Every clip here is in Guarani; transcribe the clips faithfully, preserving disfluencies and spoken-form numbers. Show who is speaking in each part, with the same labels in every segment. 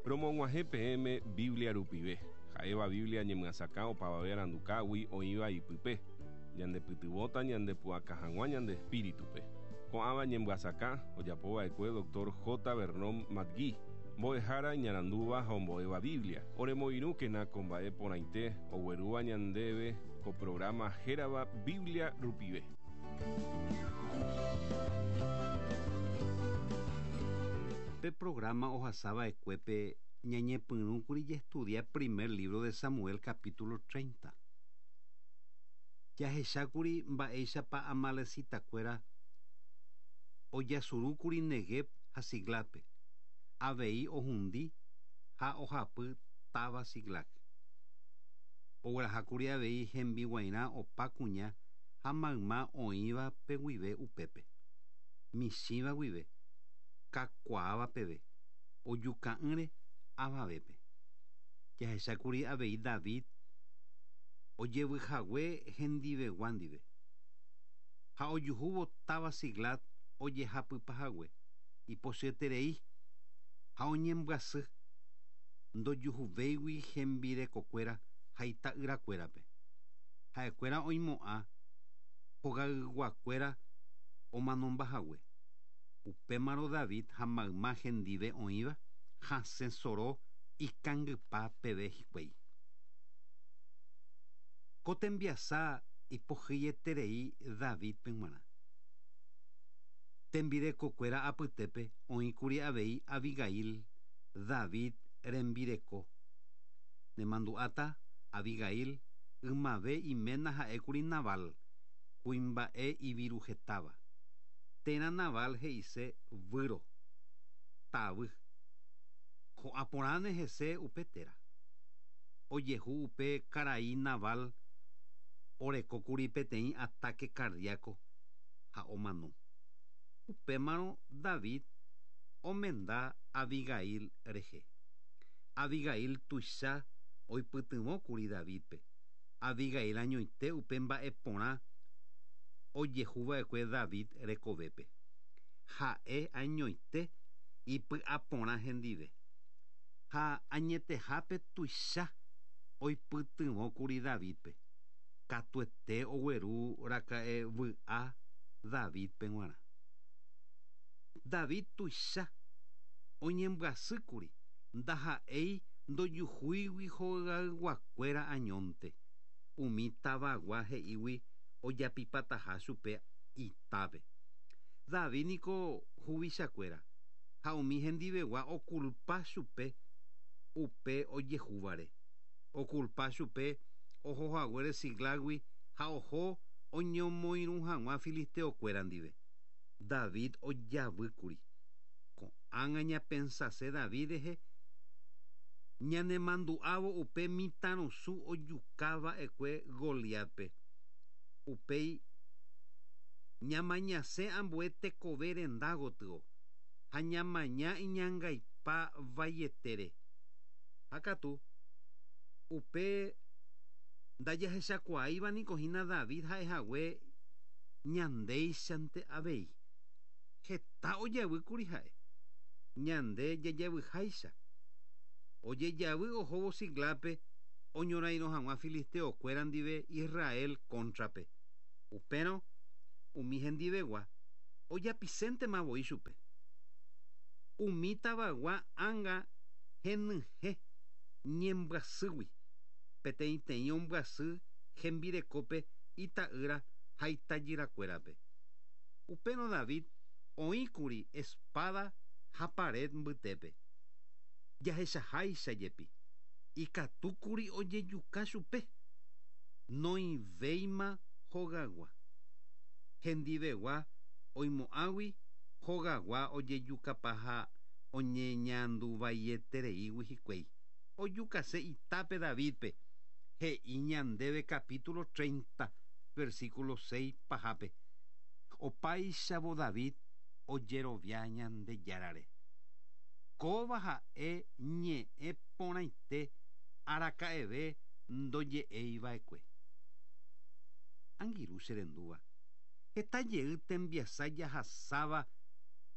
Speaker 1: Romog̃uahẽ peẽme Biblia rupive. Ha'éva Biblia ñemyasakã opavave arandukágui oĩva ipype. Ñandepytyvõta ñandepu'aka hag̃ua ñande espíritupe. Ko'ãva ñemyasakã ojapova'ekue doctor J. Vernon McGee, mbo'ehára iñarandúva ha ombo'éva Biblia. Oremoirũkena ko mba'e porãite oguerúva ñandéve ko programa hérava Biblia rupive.
Speaker 2: Pe programa ohasava'ekuépe ñañepyrũkuri jestudia primer libro de Samuel capítulo treinta. Jahechákuri mba'éichapa amalecitakuéra ojasurúkuri Negev ha Siclápe, avei ohundi ha ohapy táva Siclac. Oguerahákuri avei hembiguairã opa kuña ha mayma oĩva guive upépe. Michĩva guive, kakuaáva peve, ojuka'ỹre avavépe. Jahechákuri avei David ojevyhague hendivegua ndive. Ha ojuhúvo táva Siclac ojehapypahague, ipochyeterei ha oñembyasy ndojuhuvéigui hembirekokuéra ha ita'yrakuérape. Ha'ekuéra oimo'ã hogayguakuéra omanombahague. Upémarõ David ha mayma hendive oĩva hasẽ soro ikangypa peve hikuái. Ko tembiasa ipohýieterei Davidpe g̃uarã. Tembirekokuéra apytépe oĩkuri avei Abigail, David rembireko. Nemandu'áta Abigail ymave iména ha'ékuri Nabal, kuimba'e iviruhetáva. Térã Nabal he'ise výro, tavy. Ho'aporãne hese upe téra. Ojehu upe karai Nabal orekókuri peteĩ ataque cardíaco ha omano. Upémarõ David omenda Abigail rehe. Abigail tuicha oipytyvõkuri Davidpe. Abigail añoite upe mba'eporã ojehuva'ekue David rekovépe. Ha'e añoite ipy'aporã hendive. Ha añetehápe tuicha oipytyvõkuri Davidpe. Katuete ogueru raka'e vy'a Davidpe g̃uarã. David tuicha oñembyasýkuri ndaha'éi ndojuhúigui hogayguakuéra añónte. Umi tavagua he'ígui ojapipataha chupe itápe. David niko huvichakuéra ha umi hendivegua okulpa chupe upe ojehúvare. Okulpa chupe ohohaguére Siclágui ha oho oñomoirũ hag̃ua filisteokuéra ndive. David ojavýkuri. Ko'ág̃a ñapensase David rehe ñanemandu'ávo upe mitãrusu ojukava'ekue Goliatpe. Upéi ñamañase ambue tekove renda gotyo ha ñamaña iñangaipa vaietére. Ha katu upe ndajahechakuaáiva niko hína David ha'ehague ñandéichante avei. Heta ojavýkuri ha'e. Ñande jajavyháicha. Ojejavy ohóvo Siclápe oñorairõ hag̃ua filisteokuéra ndive Israel cóntrape. Upérõ umi hendivegua ojapiséntema voi chupe. Umi tavagua ánga henyhẽ ñembyasýgui. Peteĩteĩ ombyasy hembirekópe ita'ýra ha itajyrakuérape. Upérõ David oĩkuri espada ha pared mbytépe. Jahechaháicha jepi. Ikatúkuri ojejuka chupe. Noĩvéima hogagua. Hendivegua oimo'ãgui hogagua ojejukapa ha oñeñanduvaietereígui hikuái. Ojukase itápe Davidpe. He'i ñandéve capítulo treinta, versículo seis pahápe. Opáichavo David ojerovia Ñandejárare. Kóva ha'e ñe'ẽ porãite araka'eve ndoje'eiva'ekue. Angirũ cherendúva. Heta jey tembiasa jahasáva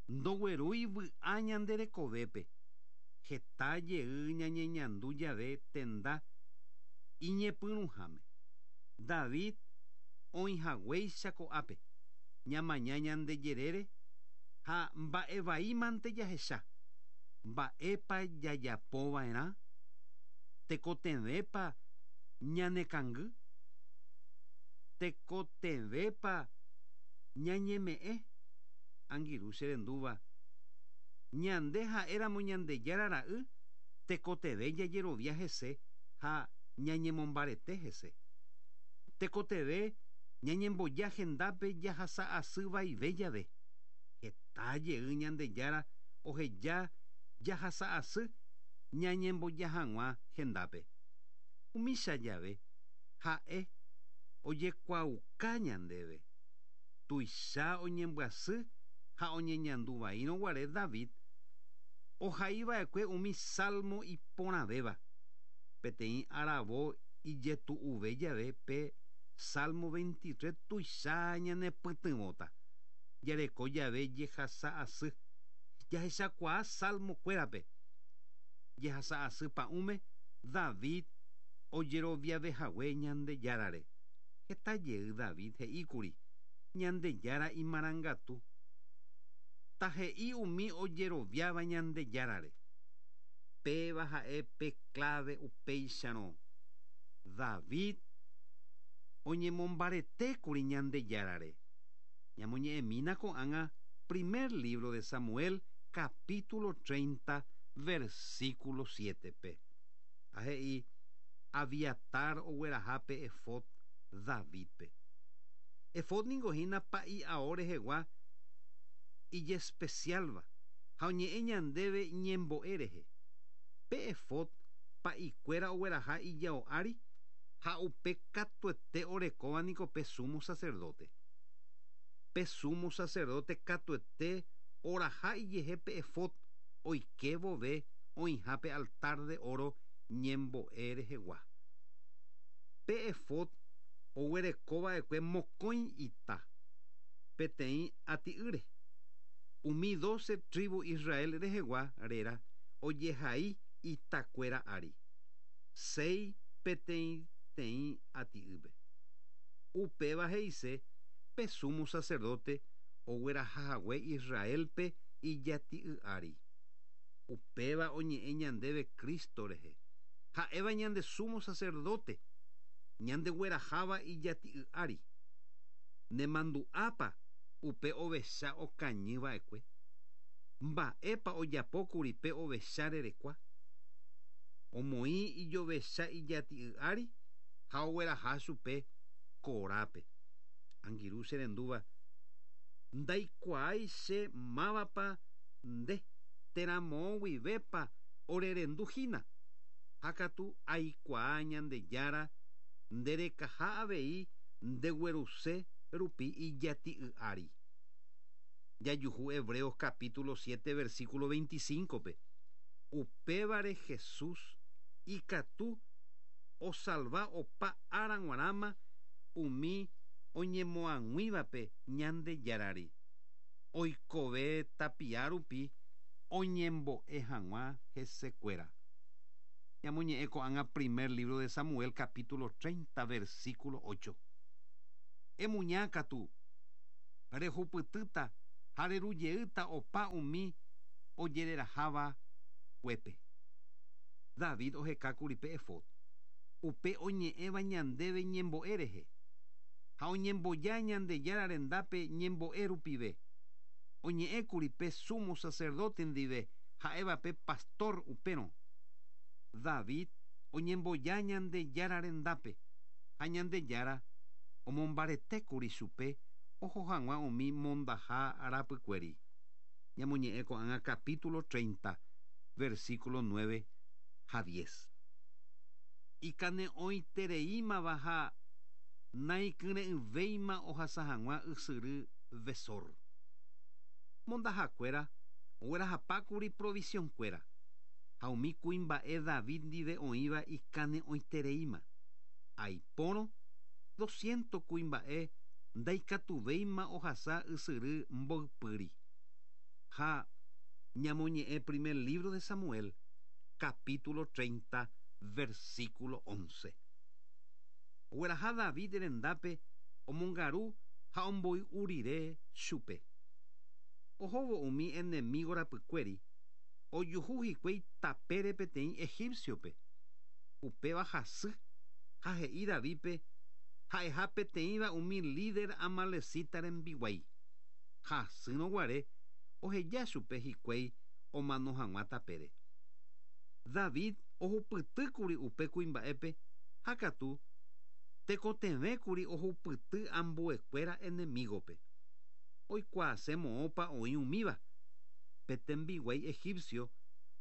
Speaker 2: ndoguerúi vy'a ñande rekovépe. Heta jey ñañeñandu jave tenda iñepyrũháme. David oĩhaguéicha ko'ápe. Ñamaña ñande jerére ha mba'evaímante jahecha. Mba'épa jajapova'erã? Tekotevẽpa ñanekangy? Tekotevẽpa ñañeme'ẽ? Angirũ cherendúva. Ñande ha'éramo Ñandejára ra'y tekotevẽ jajerovia hese ha ñañemombarete hese. Tekotevẽ ñañemboja hendápe jahasa asy vaive jave. Heta jey Ñandejára oheja jahasa asy ñañemboja hag̃ua hendápe. Umícha jave ha'e ojekuaauka ñandéve. Tuicha oñembyasy ha oñeñanduvaírõguare David ohaiva'ekue umi salmo iporãvéva. Peteĩ aravo ijetu'uve jave pe Salmo veintitrés tuicha ñanepytyvõta. Jareko jave jehasa asy. Jahechakuaa salmo kuérape. Jehasa asy pa'ũme David ojeroviavehague Ñandejárare. Heta jey David he'íkuri Ñandejára imarangatu. Tahe'i umi ojeroviáva Ñandejárare. Péva ha'e pe clave upéicharõ. David oñemombaretékuri Ñandejárare. Ñamoñe'ẽmína ko'ág̃a primer libro de Samuel capítulo treinta versículo siete-pe. Ha he'i Abiatar oguerahápe efod Davidpe. Efod ningo hína pa'i ao rehegua ijespecialva ha oñe'ẽ ñandéve ñembo'e rehe. Pe efod pa'ikuéra ogueraha ijao ári ha upe katuete orekóva niko pe sumo sacerdote. Pe sumo sacerdote katuete oraha ijehe pe efod oike vove oĩhápe altar de oro ñembo'e rehegua. Pe efod oguerekova'ekue mokõi ita peteĩ ati'ýre. Umi doce tribu Israel rehegua réra ojehai itakuéra ári. Sei peteĩteĩ ati'ýpe. Upéva he'ise pe sumo sacerdote oguerahahague Israelpe ijati'y ári. Upéva oñe'ẽ ñandéve Cristo rehe. Ha'éva ñande sumo sacerdote ñandegueraháva ijati'y ári. Nemandu'ápa upe ovecha okañyva'ekue. Mba'épa ojapókuri pe ovecha rerekua. Omoĩ ijovecha ijati'y ári ha ogueraha chupe korápe. Angirũ cherendúva ndaikuaái che mávapa nde térã moõguivépa orerenduhína. Ha katu aikuaa Ñandejára nderekaha avei ndegueruse rupi ijati'y ári. Jajuhu Hebreos capítulo siete versículo veinticinco-pe. Upévare Jesús ikatu osalva opa ára g̃uarãma umi oñemoag̃uívape Ñandejárare. Oikove tapia rupi oñembo'e hag̃ua hesekuéra. Ñamoñe'ẽ ko'ág̃a primer libro de Samuel capítulo treinta versículo ocho. Emuñákatu rehupytýta ha rerujeýta opa umi ojereraháva kuépe. David ohekákuri pe efod. Upe oñe'ẽva ñandéve ñembo'e rehe. Ha oñemboja Ñandejára rendápe ñembo'e rupive. Oñe'ẽkuri pe sumo sacerdote ndive ha'éva pe pastor upérõ. David oñemboja Ñandejára rendápe ha Ñandejára omombaretékuri chupe oho hag̃ua umi mondaha arapykuéri. Ñamoñe'ẽ ko'ág̃a capítulo treinta versículo nueve ha diez. Ikane'õitereímava ha naikyre'ỹvéima ohasa hag̃ua ysyry Besor. Mondahakuéra oguerahapákuri provisionkuéra ha umi kuimba'e David ndive oĩva ikane'õitereíma. Aipórõ doscientos kuimba'e ndaikatuvéima ohasa ysyry mboypýri. Ha ñamoñe'ẽ primer libro de Samuel capítulo treinta, versículo once. Ogueraha David rendápe omongaru ha omboy'u rire chupe. Ohóvo umi enemigo rapykuéri ojuhu hikuái tapére peteĩ egipciope. Upéva hasy ha he'i Davídpe ha'eha peteĩva umi líder amalecita rembiguái. Hasýrõ guare oheja chupe hikuái omano hag̃ua tapére. David ohupytýkuri upe kuimba'épe ha katu tekotevẽkuri ohupyty ambuekuéra enemigope. Oikuaase moõpa oĩ umíva. Pe tembiguái egipcio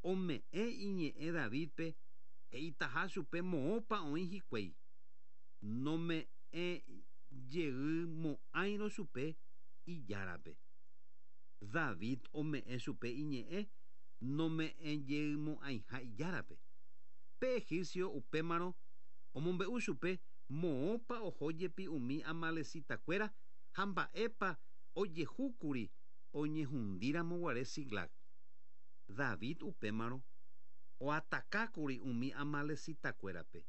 Speaker 2: ome'ẽ iñe'ẽ Davídpe he'itaha chupe moõpa oĩ hikuái. Nome'ẽ jeymo'ãirõ chupe ijárape. David ome'ẽ chupe iñe'ẽ nome'ẽ jeymo'ãiha ijárape. Pe egipcio upémarõ omombe'u chupe moõpa oho jepi umi amalecitakuéra ha mba'épa ojehúkuri oñehundíramo guare Siclag. David upémarõ oatakákuri umi amalecitakuérape.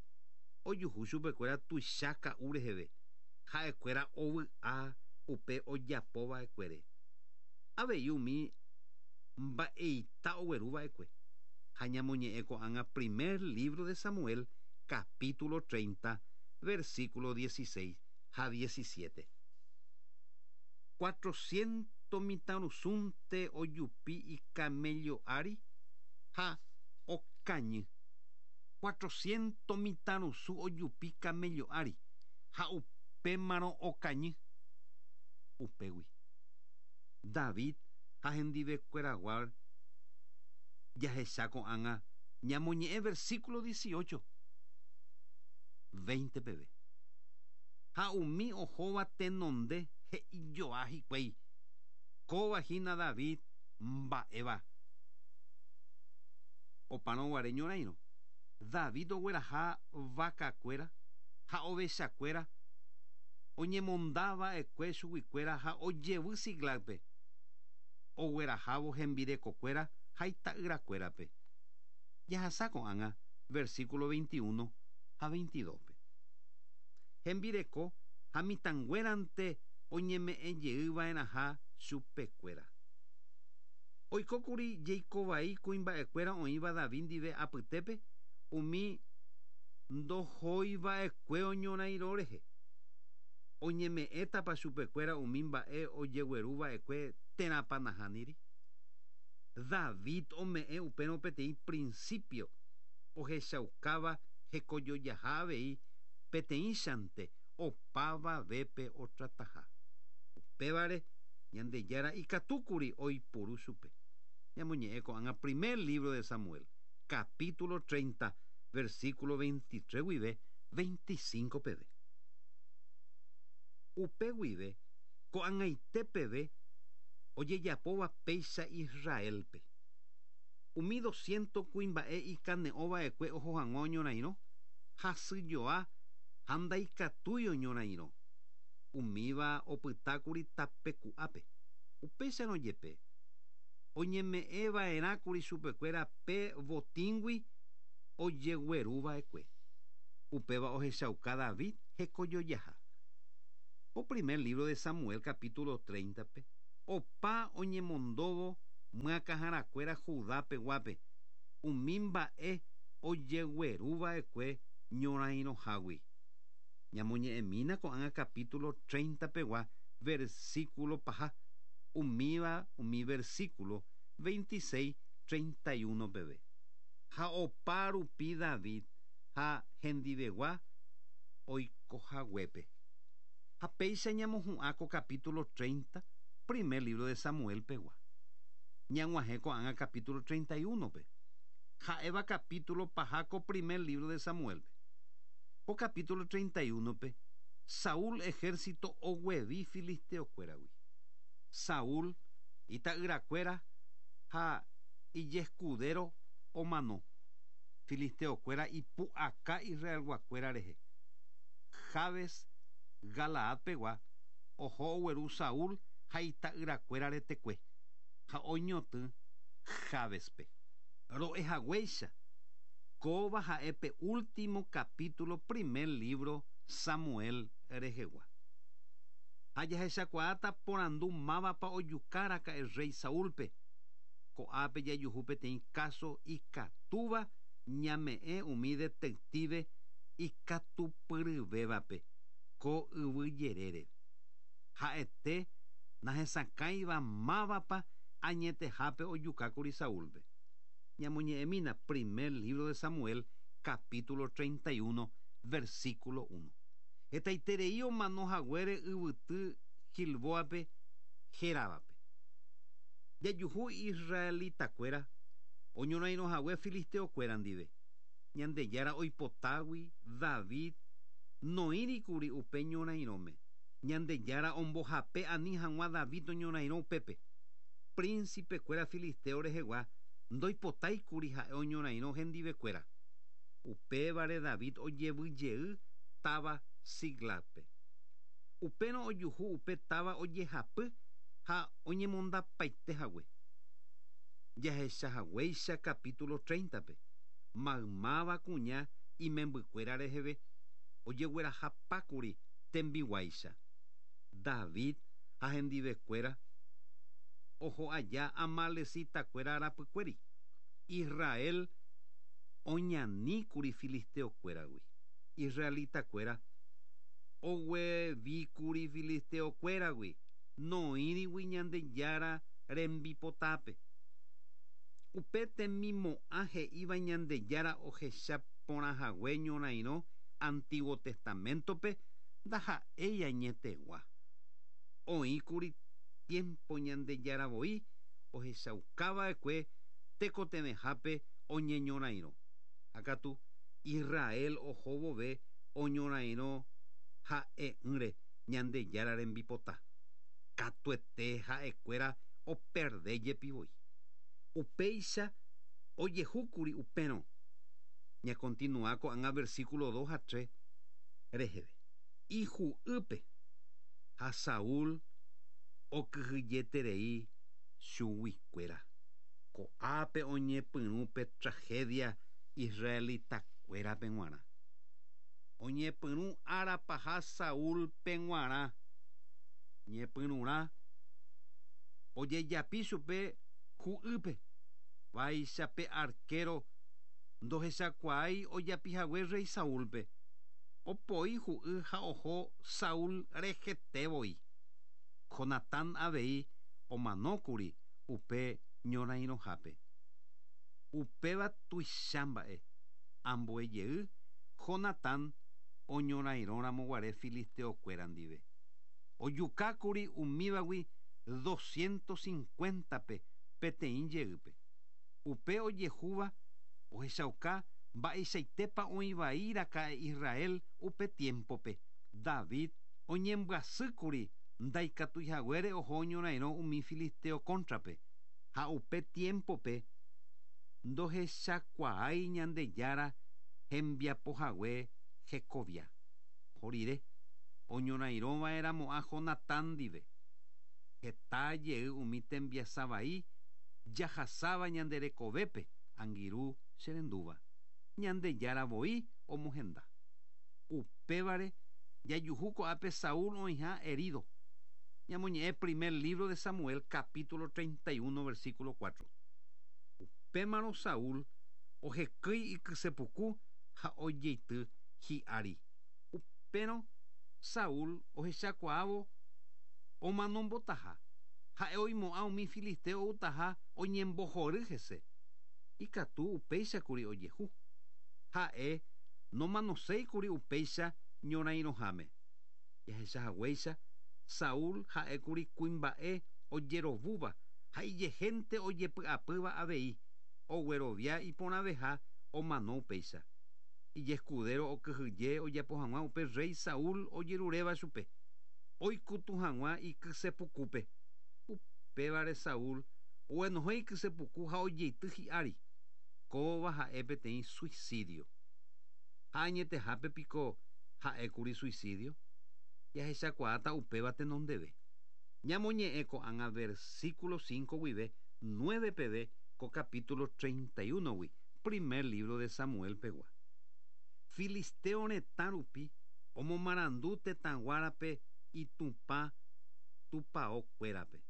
Speaker 2: Ojuhu chupekuéra tuicha ka'u reheve. Ha'ekuéra ovy'a upe ojapova'ekuére. Avei umi mba'eita ogueruva'ekue. Ha ñamoñe'ẽ ko'ág̃a primer libro de Samuel, capítulo treinta, versículo dieciséis ha diecisiete. Cuatrocientos mitãrusunte ojupi icamello ári ha okañy. Cuatrocientos mitãrusu ojupi camello ári ha upémarõ okañy. Upégui. David ha hendivekueragua jahecha ko'ág̃a ñamoñe'ẽ versículo dieciocho, veinte peve. Ha umi ohóva tenonde he'ijoa hikuái. Kóva hína David mba'éva. Opárõ guare ñorairõ. David ogueraha vakakuéra ha ovechakuéra oñemondava'ekue chuguikuéra ha ojevy Siclagpe. Oguerahávo hembirekokuéra ha ita'yrakuérape. Jahasa ko'ág̃a versículo veintiuno ha veintidóspe. Hembireko ha mitãnguérante oñeme'ẽ jeyva'erãha chupekuéra. Oikókuri jeikovai kuimba'ekuéra oĩva David ndive apytépe umi ndohoiva'ekue oñorairõ rehe. Oñeme'ẽtapa chupekuéra umi mba'e ojegueruva'ekue térãpa nahániri. David ome'ẽ upérõ peteĩ principio ohechaukáva hekojojaha avei peteĩchante opavavépe otrataha. Upévare Ñandejára ikatúkuri oiporu chupe. Ñamoñe'ẽ ko'ág̃a primer libro de Samuel, capítulo treinta, versículo veintitrés guive veinticinco peve. Upe guive ko'ag̃aite peve ojejapóva péicha Israelpe. Umi doscientos kuimba'e ikane'õva'ekue oho hag̃ua oñorairõ, hasyjoa ha ndaikatúi oñorairõ. Umíva opytákuri tapeku'ápe. Upéicharõ jepe oñeme'ẽva'erãkuri chupekuéra pe botíngui ojegueruva'ekue. Upéva ohechauka David hekojojaha. O primer libro de Samuel capítulo treinta-pe opa oñemondóvo myakãharakuéra Judápe guápe umi mba'e ojegueruva'ekue ñorairõhágui. Ñamoñe'ẽmína ko'ág̃a capítulo treinta pegua versículo paha umíva umi versículo veintiséis, treinta y uno peve. Ha opa rupi David ha hendivegua oikohaguépe. Ha péicha ñamohu'ã ko capítulo treinta, primer libro de Samuel pegua. Ñag̃uahẽ ko'ág̃a capítulo treinta y uno-pe. Ha'éva capítulo paha ko primer libro de Samuel-pe. Ko capítulo treinta y uno-pe, Saúl ejército oguevi filisteokuéragui. Saúl ita'yrakuéra ha ijescudero omano. Filisteokuéra ipu'aka Israelguakuéra rehe. Jabes Galaad pegua oho ogueru Saúl ha ita'yrakuéra retekue ha oñotỹ Jabespe. Ro'ehaguéicha Kóva ha'e pe último capítulo primer libro Samuel rehegua. Ha jahechakuaáta porandu mávapa ojukáraka'e rey Saúlpe. Ko'ápe jajuhu peteĩ káso ikatúva ñame'ẽ umi detective ikatupyryvévape ko yvy jerére. Ha'ete nahesakãiva mávapa añetehápe ojukákuri Saúlpe. Ñamoñe'ẽmína primer libro de Samuel, capítulo treinta y uno, versículo uno. Hetaiterei omano haguére yvyty Gilboape héravape. Jajuhu israelitakuéra oñorairõ hague filisteokuéra ndive. Ñandejára oipotágui David noĩrikuri upe ñorairõme. Ñandejára ombohape ani hag̃ua David oñorairõ upépe. Príncipekuéra filisteo rehegua ndoipotáikuri ha'e oñorairõ hendivekuéra. Upévare David ojevyjey táva Siclagpe. Upérõ ojuhu upe táva ojehapy ha oñemondapaite hague. Jahechahaguéicha capítulo treinta-pe. Maymáva kuña imembykuéra reheve ojeguerahapákuri tembiguáicha. David ha hendivekuéra oho aja amalecitakuéra rapykuéri. Israel oñaníkuri filisteokuéragui. Israelitakuéra oguevíkuri filisteokuéragui noĩrigui Ñandejára rembipotápe. Upe temimo'ã he'íva Ñandejára ohecha porãhague ñorairõ Antiguo Testamentope ndaha'éi añetegua. Oĩkuri tiempo Ñandejára voi ohechaukava'ekue tekotevẽhápe oñeñorairõ. Ha katu Israel oho vove oñorairõ ha'e'ỹre Ñandejára rembipota. Katuete ha'ekuéra operde jepi voi. Upéicha ojehúkuri upérõ. Ñakontinua ko'ág̃a versículo dos ha tres reheve. Iju'ýpe ha Saúl okyhyjeterei chuguikuéra. Ko'ápe oñepyrũ pe tragedia israelitakuérape g̃uarã. Oñepyrũ ára paha Saúlpe g̃uarã. Ñepyrũrã ojejapi chupe ju'ýpe. Vaicha pe arquero ndohechakuaái ojapihague rey Saúlpe. Opoi ju'y ha oho Saúl rehete voi. Jonatán avei omanókuri upe ñorairõhápe. Upéva tuicha mba'e. Ambue jey Jonatán oñorairõramoguare filisteokuéra ndive. Ojukákuri umívagui doscientos cincuenta-pe peteĩ jeýpe. Upe ojehúva ohechauka mba'eichaitépa oĩvaíraka'e Israel upe tiempope. David oñembyasýkuri ndaikatuihaguére oho oñorairõ umi filisteo cóntrape. Ha upe tiempope ndohechakuaái Ñandejára hembiapohague hekovia. Oho rire oñorairõva'erãmo'ã Jonatán ndive. Heta jey umi tembiasavai jahasáva ñande rekovépe angirũ cherendúva. Ñandejára voi omohenda. Upévare jajuhu ko'ápe Saúl oĩha herido. Ñamoñe'ẽ primer libro de Samuel capítulo treinta y uno versículo cuatro. Upémarõ Saúl ohekýi ikysepuku ha ojeity hi'ári. Upérõ Saúl ohechakuaávo omanombotaha. Ha'e oimo'ã umi filisteo outaha oñembohory hese. Ikatu upéichakuri ojehu. Ha'e nomanoséikuri upéicha ñorairõháme. Jahechahaguéicha Saúl ha'ékuri kuimba'e ojerovúva ha ijehénte ojepy'apýva avei oguerovia iporãveha omano upéicha. Ijescudero okyhyje ojapo hag̃ua upe rey Saúl ojeruréva chupe. Oikutu hag̃ua ikysepukúpe. Upévare Saúl oguenohẽ ikysepuku ha ojeity hi'ári. Kóva ha'e peteĩ suicidio. Ha añetehápe piko ha'ékuri suicidio. Jahechakuaáta upéva tenondeve. Ñamoñe'ẽ ko'ág̃a versículo cinco guive nueve peve ko capítulo treinta y uno-gui, Primer libro de Samuel pegua. Filisteo retã rupi omomarandu tetãguárape itupã tupãokuérape.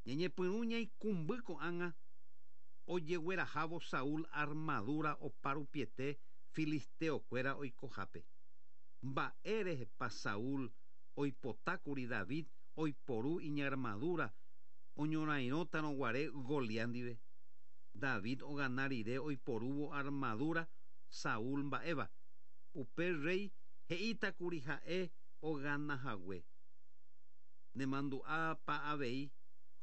Speaker 2: Ñañepyrũ ñaikumby ko'ág̃a ojeguerahávo Saúl armadura oparupiete filisteokuéra oikohápe. Mba'érehepa Saúl oipotákuri David oiporu iñarmadura oñorairõtarõguare Goliat ndive. David ogana rire oiporúvo armadura Saúl mba'éva. Upe rey he'ítakuri ha'e oganahague. Nemandu'ápa avei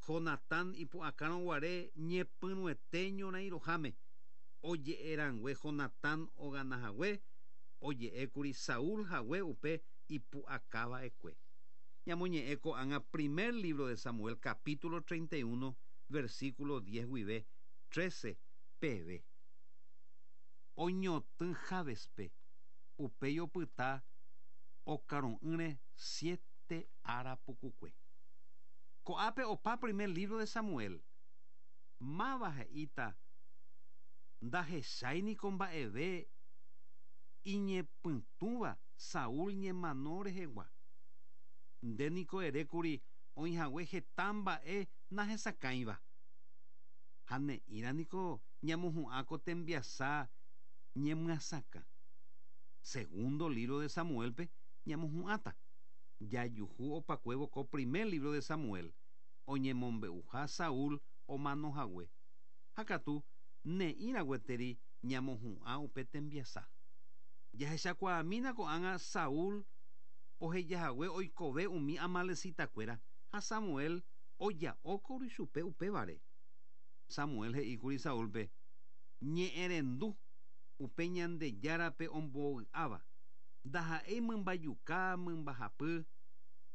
Speaker 2: Jonatán ipu'akárõguare ñepyrũete ñorairõháme. Oje'erãngue Jonatán oganahague oje'ékuri Saúl hague upe ipu'akava'ekue. Ñamoñe'ẽ ko'ág̃a primer libro de Samuel capítulo treinta y uno versículo diez guive trece peve. Oñotỹ Jabespe upéi opyta okaru'ỹre siete ára pukukue. Ko'ápe opa primer libro de Samuel. Máva he'íta ndahecháiniko mba'eve iñepytũva Saúl ñemano rehegua. Ndéniko erékuri oĩhague heta mba'e nahesakãiva. Ha ne'írãniko ñamohu'ã ko tembiasa ñemyasakã. Segundo libro de Samuelpe ñamohu'ãta. Jajuhu opakuévo ko primer libro de Samuel oñemombe'uha Saúl omanohague. Ha katu ne'írã gueteri ñamohu'ã upe tembiasa. Jahechakuaamína ko'ág̃a Saúl ohejahague oikove umi amalecitakuéra ha Samuel oja'ókuri chupe upévare. Samuel he'íkuri Saúlpe ñe'ẽrendu upe Ñandejárape ombovy'áva. Ndaha'éi mymbajuka mymbahapy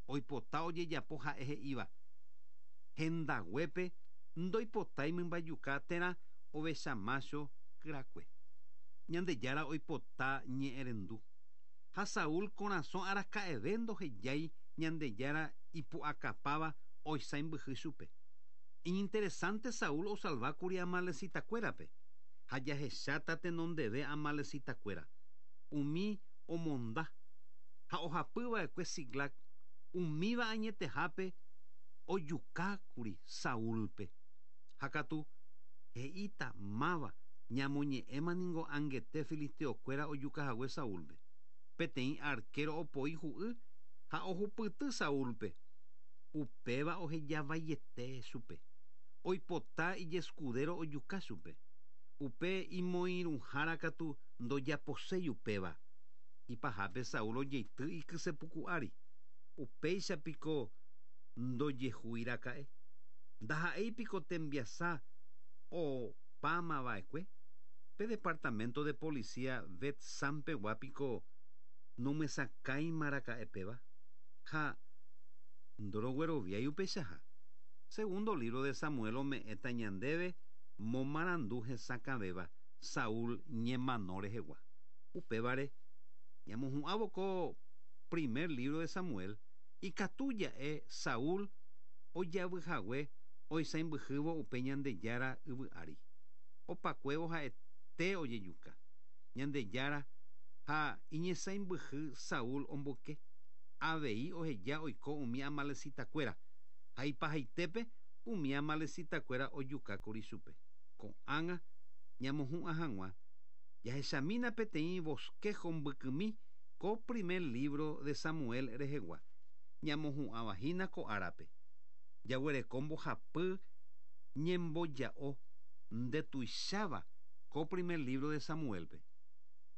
Speaker 2: oipota ojejapo ha'e he'íva. Hendaguépe ndoipotái mymbajuka térã ovechamácho kyrakue. Ñandejára oipota ñe'ẽrendu. Ha Saúl korasõ araka'eve ndohejái Ñandejára ipu'akapáva oisãimbyhy chupe. Iñinteresante Saúl osalvákuri amalecitakuérape ha jahecháta tenondeve amalecitakuéra. Umi omonda ha ohapyva'ekue Siclag umíva añetehápe ojukákuri Saúlpe. Ha katu he'íta máva ñamoñe'ẽmaningo angete filisteokuéra ojukahague Saúlpe. Peteĩ arquero opoi hu'y ha ohupyty Saúlpe. Upéva ohejavaiete chupe. Oipota ijescudero ojuka chupe. Upe imoirũhára katu ndojaposéi upéva. Ipahápe Saúl ojeity ikysepuku ári. Upéichapiko ndojehuiraka'e. Ndaha'éipiko tembiasa opámava'ekue. Pe departamento de policía Bet-Sampegua piko nomyesakãimaraka'épeva. Ha ndorogueroviái upeichaha. Segundo libro de Samuel ome'ẽta ñandéve momarandu hesakãvéva Saúl ñemano rehegua. Upévare ñamohu'ãvo ko primer libro de Samuel ikatu ja'e Saúl ojavyhague oisãimbyhývo upe Ñandejára yvy ári. Opakuévo ha'ete ojejuka. Ñandejára ha iñesãimbyhy Saúl omboyke. Avei oheja oiko umi amalecitakuéra ha ipahaitépe umi amalecitakuéra ojukákuri chupe. Ko'ág̃a ñamohu'ã hag̃ua jahechamína peteĩ bosquejo mbykymi ko primer libro de Samuel rehegua. Ñamohu'ãvahína ko árape. Jaguereko mbohapy ñemboja'o ndetuicháva ko primer libro de Samuelpe.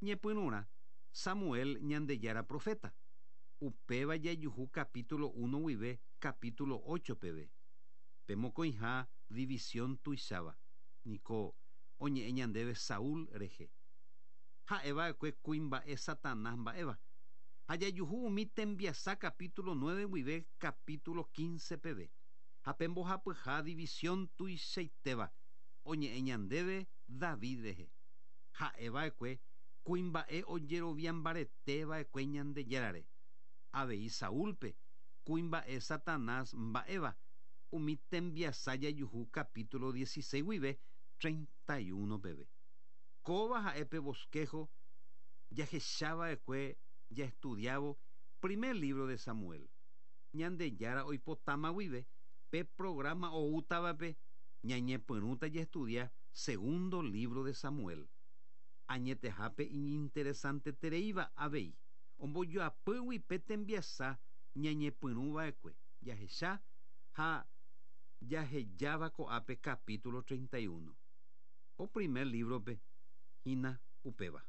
Speaker 2: Ñepyrũrã Samuel Ñandejára profeta. Upéva jajuhu capítulo uno guive capítulo ocho peve. Pe mokõiha división tuicháva. Niko oñe'ẽ ñandéve Saúl rehe. Ha'eva'ekue kuimba'e Satanás mba'éva. Ha jajuhu umi tembiasa capítulo nueve guive capítulo quince peve. Ha pe mbohapyha división tuichaitéva oñe'ẽ ñandéve David rehe. Ha'eva'ekue kuimba'e ojeroviambareteva'ekue Ñandejárare. Avei Saúlpe kuimba'e Satanás mba'éva umi tembiasa jajuhu capítulo dieciséis guive treinta y uno peve. Kóva ha'e pe bosquejo jahechava'ekue jaestudiávo primer libro de Samuel. Ñandejára oipotáma guive pe programa oútavape ñañepyrũta jaestudia segundo libro de Samuel. Añetehápe iñinteresantetereíva avei. Ombojoapýgui pe tembiasa ñañepyrũva'ekue jahecha ha jahejáva ko'ápe capítulo treinta y uno. Ko primer librope hína upéva.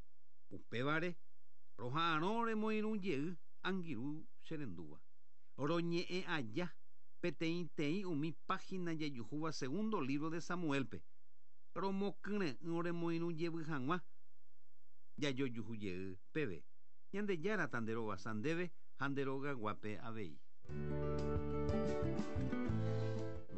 Speaker 2: Upévare roha'arõ remoirũ jey angirũ cherendúva. Roñe'ẽ aja peteĩteĩ umi página jajuhúva segundo libro de Samuelpe. Romokyre'ỹ remoirũ jevy hag̃ua jajojuhu jey peve. Ñandejára tanderovasa ndéve ha nderogaguápe avei.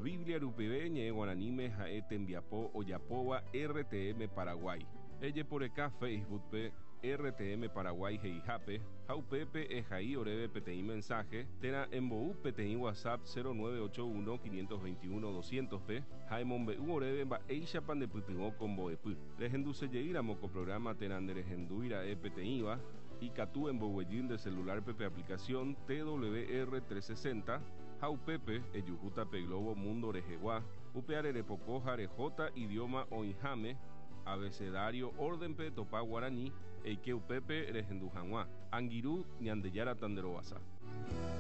Speaker 1: Biblia rupive ñe'ẽ guaraníme ha'e tembiapo ojapóva R T M Paraguay. Ejeporeka Facebookpe R T M Paraguay he'ihápe ha upépe ehai oréve peteĩ mensaje térã embou peteĩ WhatsApp cero nueve ocho uno quinientos veintiuno doscientos pe ha emombe'u oréve mba'éichapa ndepytyvõ ko mbo'epy. Rehendusejeýramo ko programa térã nderehendúira'e peteĩva ikatu emboguejy nde celularpe pe aplicación T W R trescientos sesenta ha upépe ejuhúta pe Globo Mundo rehegua upe arerepoko ha rehóta idioma oĩháme abecedario órdenpe topa guarani eike upépe rehendu hag̃ua. Angirũ Ñandejára tanderovasa.